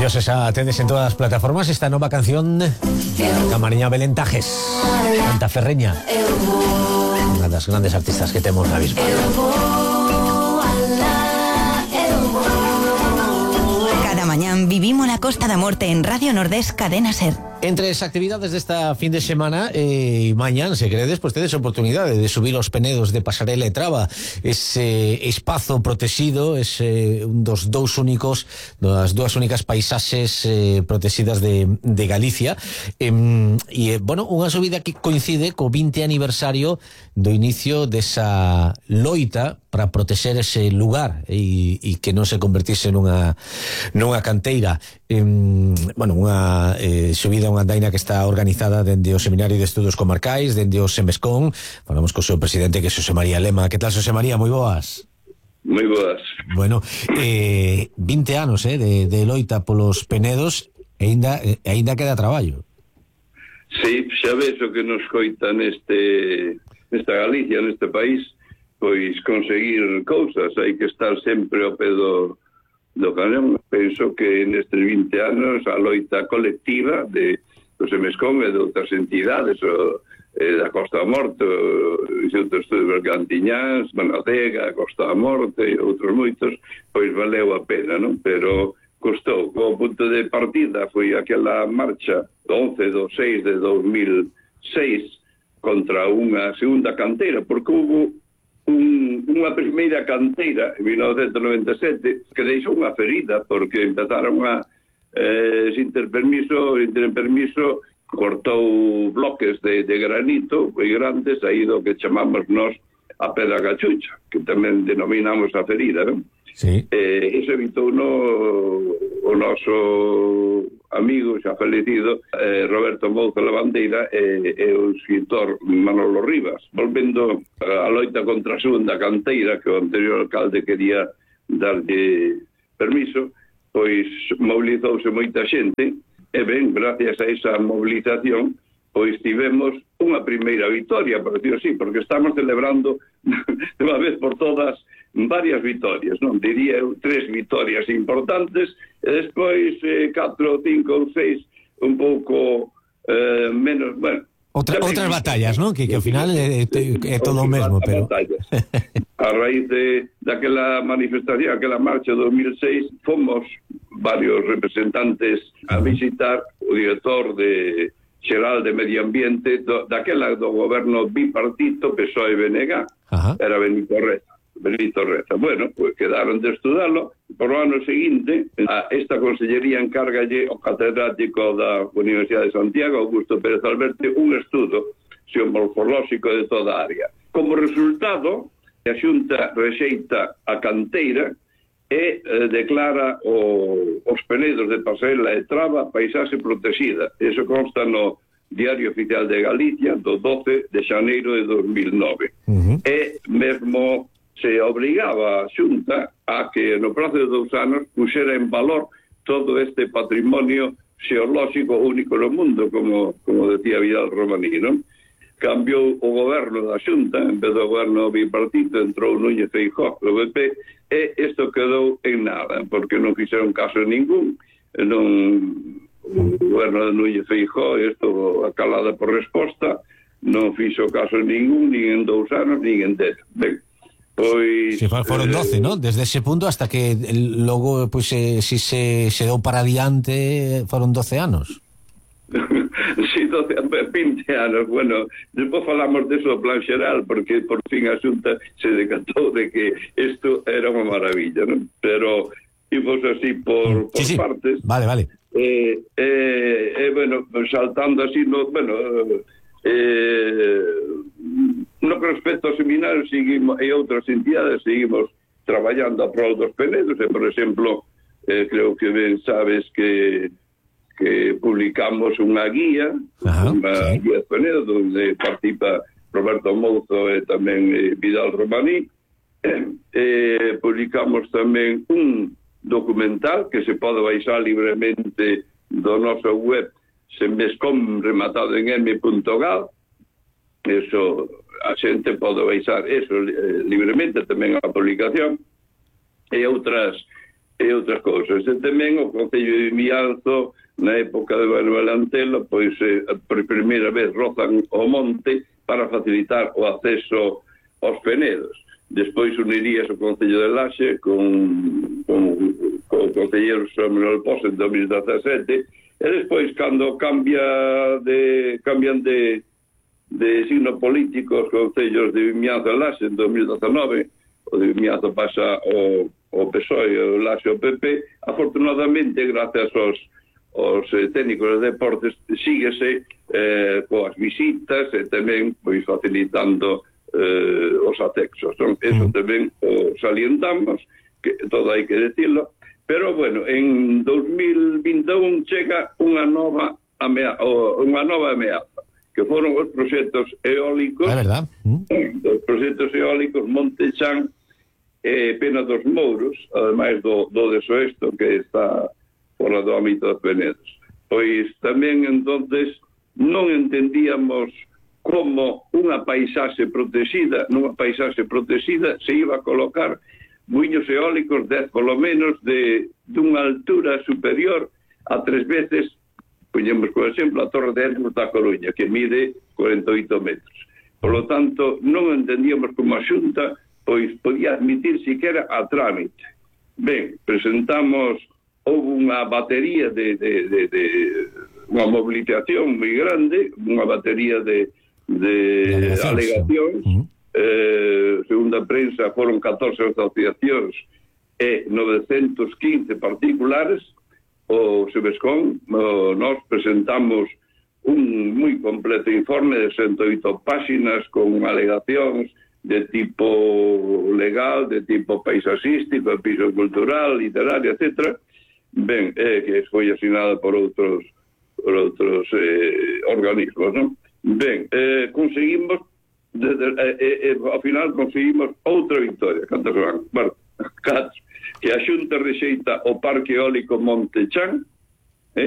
Ellos esa tendes en todas las plataformas esta nueva canción da Mariña Belentajes, canta ferreña, una de las grandes artistas que tenemos ahora mismo. Cada mañana vivimos la Costa da Morte en Radio Nordés Cadena Ser. Entre las actividades de esta fin de semana mañana, se credes, pues tedes oportunidad de subir los penedos de Pasarela e Traba, ese espazo protegido, es das dúas únicas paisaxes protegidas de Galicia, bueno, unha subida que coincide co 20 aniversario do inicio desa loita para proteger ese lugar e que non se convertise nunha canteira. Bueno, unha subida, unha andaina que está organizada dende o Seminario de Estudos Comarcais, dende o Semescón. Falamos co seu presidente, que é Xosé María Lema. Que tal, Xosé María? Moi boas. Moi boas. Bueno, 20 anos de loita polos penedos e aínda queda traballo. Sí, xa ves o que nos coita nesta Galicia, neste país, pois conseguir cousas, hai que estar sempre ao pé do cañón. Penso que nestes 20 anos a loita colectiva do Semescón e de outras entidades, da Costa da Morte, o Instituto de Estudos Bergantiñáns, Manadega, Costa da Morte e outros moitos, pois valeu a pena, non? Pero custou. O punto de partida foi aquela marcha do 11/6 de 2006 contra unha segunda canteira, porque hubo unha primeira canteira en 1997 que deixou unha ferida, porque empezaron a sin ter permiso cortou bloques de granito moi grandes, aí do que chamamos nós a pedra cachucha, que tamén denominamos a ferida, non? Sí. Iso evitou o noso amigo xa falecido Roberto Mouzo Lavandeira e o escritor Manolo Rivas, volvendo a loita contra a segunda canteira, que o anterior alcalde quería darlle permiso, pois movilizouse moita xente e ben, gracias a esa movilización, pois tivemos unha primeira victoria, por decir así, porque estamos celebrando de unha vez por todas varias vitorias, non? Diría eu 3 vitorias importantes e despois 4, 5 ou 6 un pouco menos, bueno, outras batallas, non? Que ao final é todo o mesmo, pero a raíz daquela manifestación, aquela marcha de 2006, fomos varios representantes a visitar o director xeral de Medio Ambiente daquela do goberno bipartito PSOE-BNG, era Benito Reza. Bueno, pues quedaron de estudarlo. Por o ano seguinte, esta consellería encárgalle ao catedrático da Universidade de Santiago, Augusto Pérez Alberte, un estudo xeomorfolóxico de toda a área. Como resultado, a Xunta rexeita a canteira e declara os penedos de Pasarela e Traba paisaxe protegida. Eso consta no Diario Oficial de Galicia do 12 de xaneiro de 2009. E mesmo se obrigaba a Xunta a que no prazo de 2 anos puxera en valor todo este patrimonio xeolóxico único no mundo, como decía Vidal Romaní, non? Cambiou o goberno da Xunta, en vez do goberno bipartito entrou Núñez Feijóo do PP, e isto quedou en nada, porque non fixeron caso ningún, o goberno de Núñez Feijóo, isto acalada por resposta, non fixo caso ningún, nin en 2 anos, nin en 10. Ben, pois sí, foron 12, ¿no? Desde ese punto hasta que logo, pues, si se deu para adiante, foron 12 anos. Sí, 20 anos. Bueno, despois falamos de eso plan xeral, porque por fin a Xunta se decatou de que isto era unha maravilla, ¿no? Pero imos así por sí. Partes. Vale. Bueno, saltando así, no que respecto ao seminario seguimos, e outras entidades seguimos traballando a prol dos penedos, e, por exemplo, creo que ben sabes que publicamos unha guía, guía de penedos, onde participa Roberto Mouzo e tamén Vidal Romaní. Publicamos tamén un documental que se pode baixar libremente do noso web Semescom rematado en m.gal. Eso, a xente pode baixar eso libremente, tamén a publicación, e outras e outras cousas. E tamén o Concello de Vimianzo, na época de Manuel Antelo, pois por primeira vez rozan o monte para facilitar o acceso aos penedos. Despois unirías o Concello de Laxe con o Concelleiro Samuel Pos en 2017, e despois, cando cambian de signo político os Concellos de Vimianzo e Laxe en 2019, o de Vimianzo pasa o PSOE e o Laxe o PP. Afortunadamente, gracias aos técnicos de deportes, síguese coas visitas e tamén pois facilitando os accesos. Eso tamén o salientamos, que todo hai que decirlo, pero bueno, en 2021 chega unha nova ameaza, que foron os proxectos eólicos, os proxectos eólicos Monte Chan e Pena dos Mouros, ademais do de Soesto, que está fora do ámbito dos Penedos. Pois tamén, entonces, non entendíamos como nunha paisaxe protegida se iba a colocar muiños eólicos polo menos dunha altura superior a 3 veces, poñemos por exemplo a Torre de Hermos da Coruña, que mide 48 metros. Por lo tanto, non entendíamos como a Xunta pois podía admitir siquera a trámite. Ben, presentamos, houve unha batería de unha mobilización moi grande, unha batería de alegacións, segundo a prensa foron 14 asociacións e 915 particulares. O Sebescón, nós presentamos un moi completo informe de 108 páxinas con alegacións de tipo legal, de tipo paisaxístico, de piso cultural, literario, etc. Ben, que foi asinada por outros organismos, non? Ben, conseguimos ao final conseguimos outra victoria. Cantos van? Bueno, que a Xunta rexeita o Parque Eólico Monte Chan,